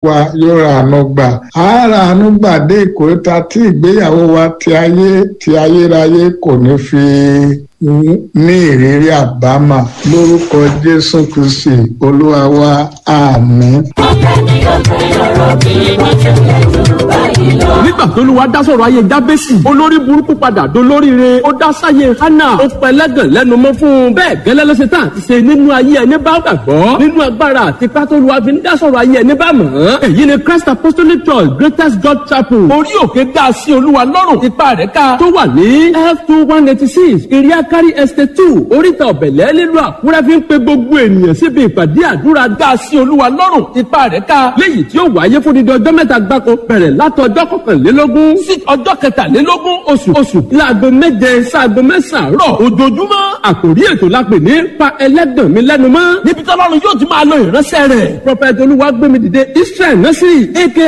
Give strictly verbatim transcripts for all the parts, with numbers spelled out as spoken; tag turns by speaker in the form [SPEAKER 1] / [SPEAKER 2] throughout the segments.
[SPEAKER 1] Wa yóò ra àánú gbà. Á ra àánú gbà dé ìkóríta tí ìgbéyàwó wa ti ayé ti ayérayé kò ní fi ní ìrírí àbámà lórúkọ Jésù Kristi Olúwa wa, àmín.
[SPEAKER 2] Nígbà tó lù wá dá sọ̀rọ̀ ayé Jábésì, olórí burúkú padà dolóríire. Ó dá sáyé Hánà, ó pẹlẹ́gàn lẹ́nu mọ́ fún un. Bẹ́ẹ̀ gẹ́lẹ́ ló ṣe tán àti ṣe nínú ayé ẹni bá gbàgbọ́ nínú agbára àti pátólùwà fi ń dá sọ̀rọ̀ ayé ẹni bá mọ̀ ọ́n. Èyí ni Christ Apostolic Church Greatest God Chapel, Orí Òkè Dá sí Olúwa Lọ́rùn Ipa Rẹ̀ Ká, tó wà ní F two one eighty six Iriakari Estate two, Oríta Ọ̀bẹ̀lẹ̀, nílùú Àkúrẹ́, fi ń pe gbogbo ènìyàn síbi ìpàdé àdúrà Dá sí Olúwa Lọ́rùn Ipa Rẹ̀ Ká, léyìí tí ó wáyé fún dídí ọjọ́ mẹ́ta gbáko, bẹ̀rẹ̀ látọjọ́ kọkànlélógún sí ọjọ́ kẹtàlélógún oṣù oṣù láago méje sáago mẹ́sàn-án rọ̀ ojoojúmọ́. Àkòrí ètò la pè ní "Pa Ẹlẹ́gàn Mi Lẹ́nu Mọ́", níbi tí Ọlọ́run yóò ti máa lo ìránṣẹ́ rẹ̀, Prophet Olúwagbémidìde Israel Násìrì, aka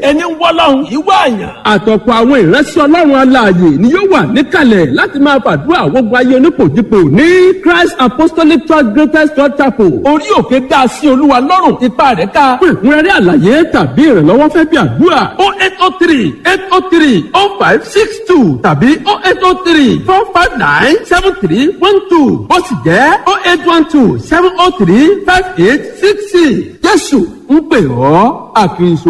[SPEAKER 3] Ẹni ń wọ́lọ́hún ìwọ àyàn.
[SPEAKER 2] Àtọ̀pọ̀ àwọn ìránṣẹ́ Ọlọ́run alààyè ni yóò wà níkàlẹ̀ láti máa fàdúrà gbogbo ayé onípòjìpò ní Christ Apostolic Church Greatest Church Chapel, Orí Òkè Dá sí Olúwa Lọ́rùn Ipa Rẹ̀ Ká. Fún ìkúnrẹ́rẹ́ àlàyé tàbí ìrànlọ́wọ́ fẹ́ bí àdúrà,
[SPEAKER 3] o eight o three eight o three o five six two tàbí o eight o three four five nine seven three one two, ó sì jẹ́ o eight one two seven o three five eight six six.
[SPEAKER 2] Jésù ń pè ọ́ àkìrìsò.